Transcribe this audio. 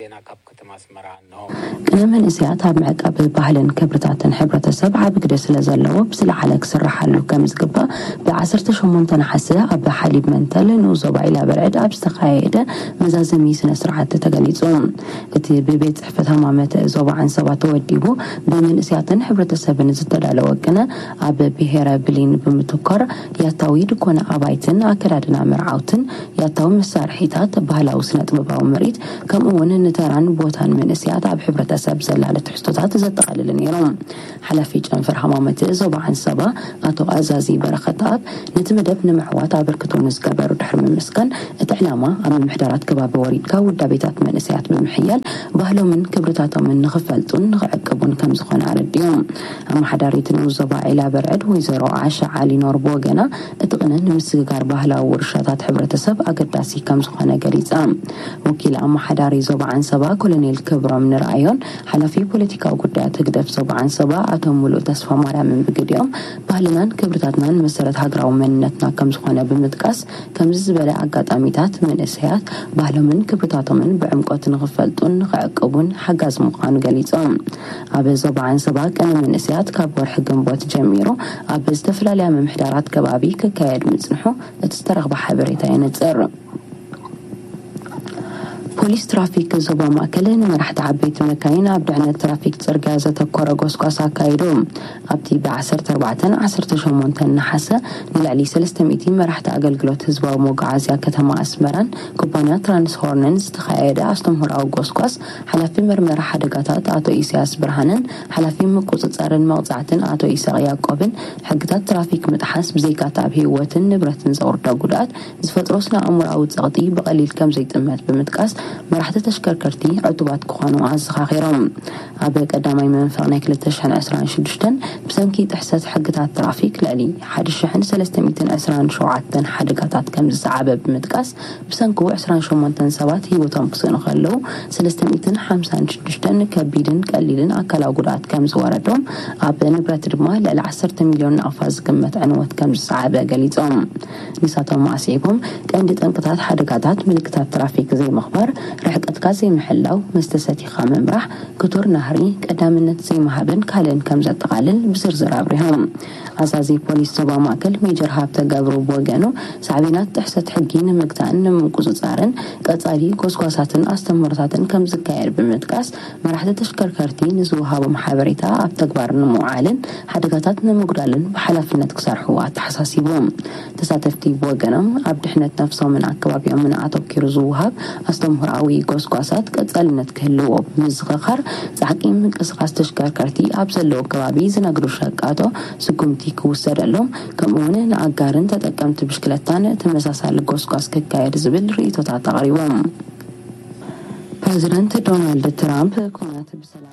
ዜና ካብ ከተማ ኣስመራ። ቅነ መንእሰያት ኣብ ምዕቃብ ባህልን ክብርታትን ሕብረተሰብ ዓቢ ግደ ስለ ዘለዎ፣ ብዝለዓለ ክስርሓሉ ከም ዝግባእ፣ ብ18 ነሓሰ ኣብ ሓሊብ መንተል ንኡስ ዞባ ዒላ በርዕድ ኣብ ዝተኻየደ መዛዘሚ ስነ ስርዓት ተገሊጹ። እቲ ብቤት ጽሕፈት ሃማመት ዞባ ዓንሰባ ተወዲቡ፣ ብመንእሰያትን ሕብረተሰብን ዝተዳለወ ቅነ፣ ኣብ ብሄረ ብሊን ብምትኳር፣ ያታዊ ድኮነ ኣባይትን ኣከዳድና መርዓውትን፣ ያታዊ መሳርሒታት፣ ባህላዊ ስነ ጥበባዊ ምርኢት፣ ከምኡ እውን ንተራን ቦታን መንእሰያት ኣብ ሕብረተሰብ ዘላለ ትሕዝቶታት ዘጠቓልል ነይሩ። ሓላፊ ጨንፈር ሃማመት ዞባ ዓንሰባ ኣቶ ኣዛዚ በረኸት ኣብ ነቲ መደብ ንምዕዋት ኣበርክቶ ንዝገበሩ ድሕሪ ምምስጋን፣ እቲ ዕላማ ኣብ ምምሕዳራት ከባቢ ወሪድካ ውዳቤታት መንእሰያት ብምሕያል ባህሎምን ክብርታቶምን ንኽፈልጡን ንኽዕቅቡን ከም ዝኾነ ኣረዲኦም። ኣመሓዳሪት ንኡስ ዞባ ዒላ በርዕድ ወይዘሮ ዓሻ ዓሊ ኖር ብወገና፣ እቲ ቅነ ንምስግጋር ባህላዊ ውርሻታት ሕብረተሰብ ኣገዳሲ ከም ዝኾነ ገሊጻ። ወኪል ኣመሓዳሪ ዞባ ዓንሰባ ኮሎኔል ክብሮም ንርኣዮን ሓላፊ ፖለቲካዊ ጉዳያት ህግደፍ ዞባ ዓንሰባ ኣቶ ሙሉእ ተስፋ ማርያምን ብግዲኦም፣ ባህልናን ክብርታትናን መሰረት ሃገራዊ መንነትና ከም ዝኾነ ብምጥቃስ፣ ከምዚ ዝበለ ኣጋጣሚታት መንእሰያት ባህሎምን ክብርታቶምን ብዕምቆት ንኽፈልጡን ንኽዕቅቡን ሓጋዚ ምዃኑ ገሊጾም። ኣብ ዞባ ዓንሰባ ቅነ መንእሰያት ካብ ወርሒ ግንቦት ጀሚሩ ኣብ ዝተፈላለያ ምምሕዳራት ከባቢ ክካየድ ምጽንሑ እቲ ዝተረኽበ ሓበሬታ የነጽር። ፖሊስ ትራፊክ ዞባ ማእከል ንመራሕቲ ዓበይቲ መካይን ኣብ ድሕነት ትራፊክ ጽርግያ ዘተኮረ ጎስጓስ ኣካይዱ። ኣብቲ ብ14፣ 18 ነሓሰ ንልዕሊ 300 መራሕቲ ኣገልግሎት ህዝባዊ መጓዓዝያ ከተማ ኣስመራን ኩባንያ ትራንስሆርንን ዝተኻየደ ኣስተምህሮኣዊ ጎስጓስ፣ ሓላፊ መርመራ ሓደጋታት ኣቶ ኢሳያስ ብርሃንን ሓላፊ ምቁጽጻርን መቕጻዕትን ኣቶ ኢሳቕ ያዕቆብን፣ ሕግታት ትራፊክ ምጥሓስ ብዘይካታ ኣብ ህይወትን ንብረትን ዘውርዶ ጉድኣት ዝፈጥሮ ስነ ኣእምሮኣዊ ጸቕጢ ብቐሊል ከም ዘይጥመት ብምጥቃስ፣ መራሕቲ ተሽከርከርቲ ዕቱባት ክኾኑ ኣዘኻኺሮም። ኣብ ቀዳማይ መንፈቕ ናይ 2026 ብሰንኪ ጥሕሰት ሕግታት ትራፊክ ልዕሊ 1,327 ሓደጋታት ከም ዝሰዓበ ብምጥቃስ፣ ብሰንኩ 28 ሰባት ህይወቶም ክስእኑ ከለዉ፣ 356 ከቢድን ቀሊልን ኣካላዊ ጉድኣት ከም ዝወረዶም፣ ኣብ ንብረት ድማ ልዕሊ 10 ሚልዮን ናቕፋ ዝግመት ዕንወት ከም ዝሰዓበ ገሊጾም። ንሳቶም ኣስዒቦም፣ ቀንዲ ጠንቅታት ሓደጋታት ምልክታት ትራፊክ ዘይምኽባር፣ ርሕቀትካ ዘይምሕላው፣ መስተ ሰቲኻ ምምራሕ፣ ክቱር ናህሪ፣ ቀዳምነት ዘይምሃብን ካልእን ከም ዘጠቓልል ብዝርዝር ኣብሪሆም። ኣዛዚ ፖሊስ ዞባ ማእከል ሜጀር ሃብተ ገብሩ ብወገኑ፣ ሳዕቤናት ጥሕሰት ሕጊ ንምግታእን ንምቁጽጻርን ቀጻሊ ጎስጓሳትን ኣስተምህሮታትን ከም ዝካየድ ብምጥቃስ፣ መራሕቲ ተሽከርከርቲ ንዝወሃቦም ሓበሬታ ኣብ ተግባር ንምውዓልን ሓደጋታት ንምጉዳልን ብሓላፍነት ክሰርሑ ኣተሓሳሲቡ። ተሳተፍቲ ብወገኖም፣ ኣብ ድሕነት ነፍሶምን ኣከባቢኦምን ኣተኪሩ ዝወሃብ ኣስተምህሮኣዊ ጎስጓሳት ቀጻልነት ክህልዎ ብምዝኽኻር፣ ጻዕቂ ምንቅስቓስ ተሽከርከርቲ ኣብ ዘለዎ ከባቢ ዝነግዱ ሸቃቶ ስጉምቲ ክውሰደሎም፣ ከምኡውን ንኣጋርን ተጠቀምቲ ብሽክለታን ተመሳሳሊ ጎስጓስ ክካየድ ዝብል ርእይቶታት ኣቕሪቦም። ፕረዚደንት ዶናልድ ትራምፕ ኩናት ብሰላም